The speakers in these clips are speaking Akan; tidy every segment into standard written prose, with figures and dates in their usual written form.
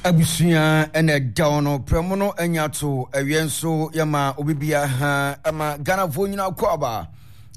Abusua na ɛda wo no prɛmo no anya to awiɛ nso yɛma obi bia ha ɛma Ghanafoɔ nyina kɔ aba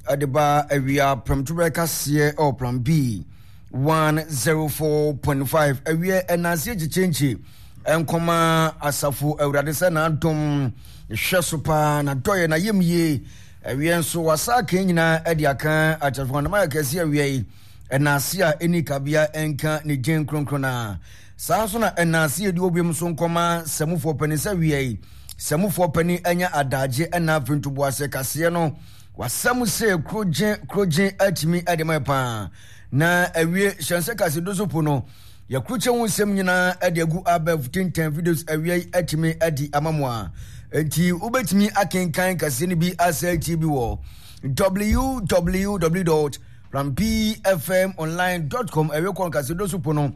ɛde ba awia prɛmtoberɛ kaseɛ ɛwɔ plan B 104.5 awiɛ ɛnanseɛ kyekyɛnkye ɛnkɔma asafo awurade sɛ n'adom hwɛ so paa na dɔyɛ na yam yie awiɛ nso wasa aka nyinaa ɛde aka akyɛfo anam ayɛ kɛse awia yi ɛnanse a ɛni kabea ɛnka ne gyen kronkron na Saa nso na ɛnaase yɛdi obiam nso nkɔma sɛmufoɔ panin sɛ wia yi sɛmufoɔ panin anya adagye ɛna afei ntoboaseɛ kaseɛ no wasɛm sɛ kurogye kurogye atumi ɛde ma paa na awie hyɛnsɛ kase do so po no yɛkurukyɛ ho nsɛm nyinaa ɛde agu abɛɛfo tintan videos awia yi atumi ɛde ama mo a nti wobɛtumi akenkan kaseɛ no bi asɛ atie bi wɔ www.rampfmonline.com ɛwie kɔn kaseɛ do so po no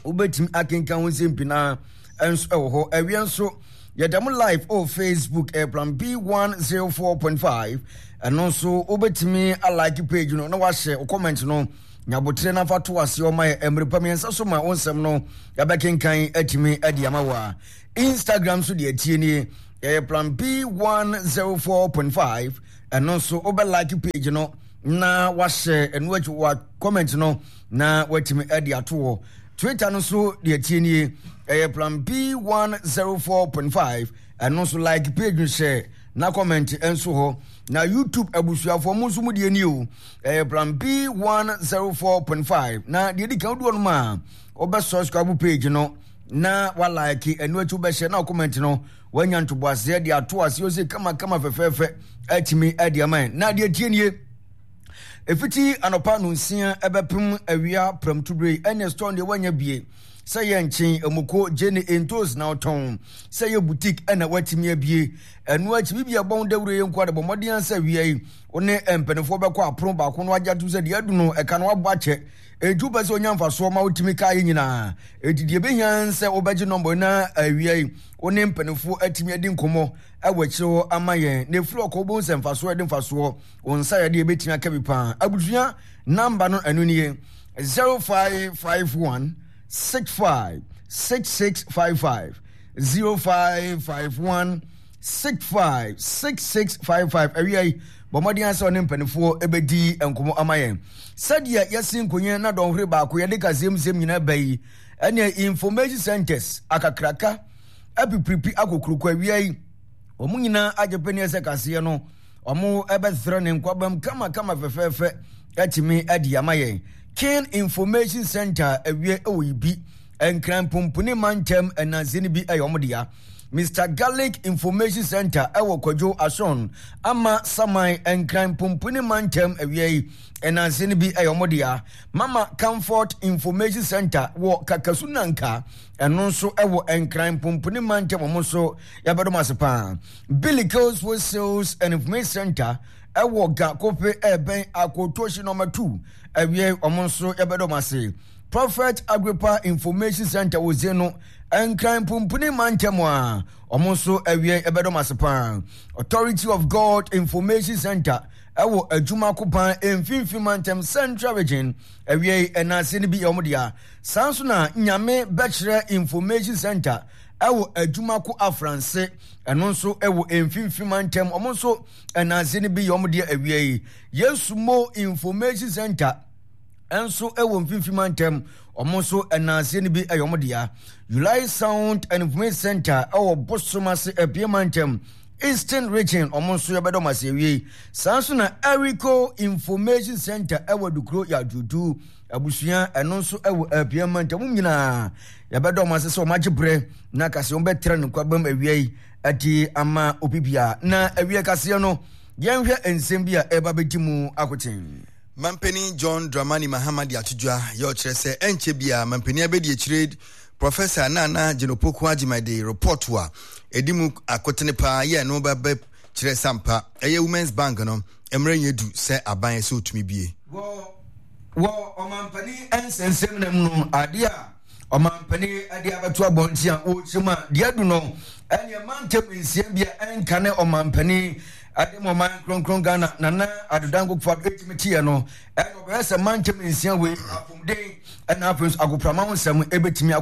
wobɛtumi akenkan ho nsɛm pii na nso ɛwɔ hɔ ɛwiɛ nso yɛda mo live wɔ facebook ɛyɛ plan b 104.5 ɛno nso wobɛtumi alike page no na wahyɛ wo comment no nyabotere no afa to aseɛ ɔma yɛ mmerɛ pa mmiɛnsa so ma wo nsɛm no yɛbɛkenkan atumi adi ama wo a instagram nso deɛ atie nie ɛyɛ plan b 104.5 ɛno nso wobɛlike page no na wahyɛ ɛno akyi wa comment no na watumi de ato hɔ twitter no nso deɛ tie nie ɛyɛ plan b 104.5 ɛno nso like page no hyɛ na comment nso hɔ na youtube abusuafoɔ mo nso mo deɛ nie o ɛyɛ plan b 104.5 na deɛ di kan wodoɔ no ma a wobɛ subscribe page no na walike ɛno akyi wobɛhyɛ na comment no wanya ntoboaseɛ de ato aseɛ ɔsɛ kamakama fɛfɛɛfɛ atumi de ama na deɛ tie nie Ɛfiti anɔpa nonsia ɛbɛpem awia prɛmtoberɛ yi ɛne store deɛ woanya bie sɛ yɛ nkyen emoko gyene ntos na wotɔn sɛ yɛ boutique ɛna woatumi abie ɛno akyi biribi a ɛbɔ ho dawuro yɛ nko de bɔ mmɔden ansa awia yi wo ne mpanimfoɔ bɛkɔ apono baako no agye atom sɛ deɛ adu no ɛka no wabɔ akyɛ enti wopɛ sɛ onya mfasoɔ ma wotumi kaa yɛ nyinaa enti deɛ ɛbɛhia sɛ wobɛgye nɔmbɔ na awia yi wo ne mpanimfoɔ atumi adi nkɔmmɔ ɛwɔ akyire hɔ ama yɛn na ɛfiri ɔkɔ wobɛhu sɛ mfasoɔ ɛde mfasoɔ Wo nsa yɛ deɛ ɛbɛtumi aka bi paa. Abusua namba no ɛno nie 0551 65 6655 0551 65 6655 awia yi bɔ mmɔden asɛ ɔne mpanimfoɔ ɛbɛdi nkɔmmɔ ama yɛn sɛdeɛ yɛsi nkonyin na dɔnhwere baako yɛde kaseɛmsɛm nyinaa ba yi ɛne information centers akakraka apipiripi akokuroko awia yi wɔn nyinaa agye pɛni ɛsɛ kaseɛ no Wɔbɛtrɛ ne nkwabam kamakama fɛfɛɛfɛ atumi adi ama yɛn. King Information Center awie wɔ Ibi, Nkran Pumpuni mantam ɛnanse no bi yɛ wɔn dea. Mister Garlic Information Center ɛwɔ Kwadwo Ason, Ama Saman, Nkran Pumpuni mantam awia yi ɛnanse no bi yɛ wɔn dea. Mama Comfort Information Center wɔ Kakasu Nanka, ɛno nso ɛwɔ Nkran Pumpuni mantam wɔn nso yɛbɛdom ase paa. Billy Girls for Sales and Information Center ɛwɔ Ga Kope ɛbɛn Akotoshi nɔma 2 awie wɔn nso yɛbɛdɔm ase. Prophet Agrippa Information Center wɔ Zeno Nkran Pumpuni mantam a wɔn nso awie yɛbɛdɔm ase paa. Authority of God Information Center ɛwɔ Adwuma Kopan Mfimfini mantam Central Region awie ɛnaase no bi yɛ wɔn dea. Saa nso na Nyame Bɛkyerɛ Information Center ɛwɔ adwuma ko afranse ɛno nso ɛwɔ mfimfini mantam wɔn nso ɛnanse no bi yɛ wɔn deɛ awia yi yesu mo information center nso ɛwɔ mfimfini mantam wɔn nso ɛnanse no bi ɛyɛ wɔn dea July sound and information center ɛwɔ bosom ase abie mantam eastern region wɔn nso yɛbɛdɔm ase awie yi saa nso na erico information center ɛwɔ dukuro yɛ aduodu abusua ɛno nso ɛwɔ abie mantam nyinaa Yɛbɛda wɔn ase sɛ wɔn agye berɛ na kaseɛ wɔn bɛtra ne nkwabam awia yi adi ama obi bia. Na awia kaseɛ no, yɛnhwɛ nsɛm bi a ɛreba bɛdi mu akoten. Mampanin John Dramani Mahama de ato dwa yɛ ɔkyerɛ sɛ ɛnkyɛ biara mampanin abɛdi akyire Professor Nana Jane Opoku Agyemang de report a ɛdi mu akotene paa yɛ ɛno bɛbɛ kyerɛ sampa ɛyɛ Women's Bank no mmerɛ nyɛ du sɛ aban sɛ ɔtumi bie. Wɔ Wɔ ɔmampanin nsɛnsɛm na mu no, adeɛ a ɔmampanin de abɛto abɔnten a wɔrekyerɛ mu a deɛ adu no ɛneɛ mantam nsia bi a ɛnka ne ɔmampanin de ma ɔman kronkron Ghana Nana Addo Dankwa Akufo-Addo ɛtumi teɛ no ɛna ɔbɛyɛ sɛ mantam nsia wei apɔmuden ɛna afei nso agoprama ho nsɛm ɛbɛtumi akɔ.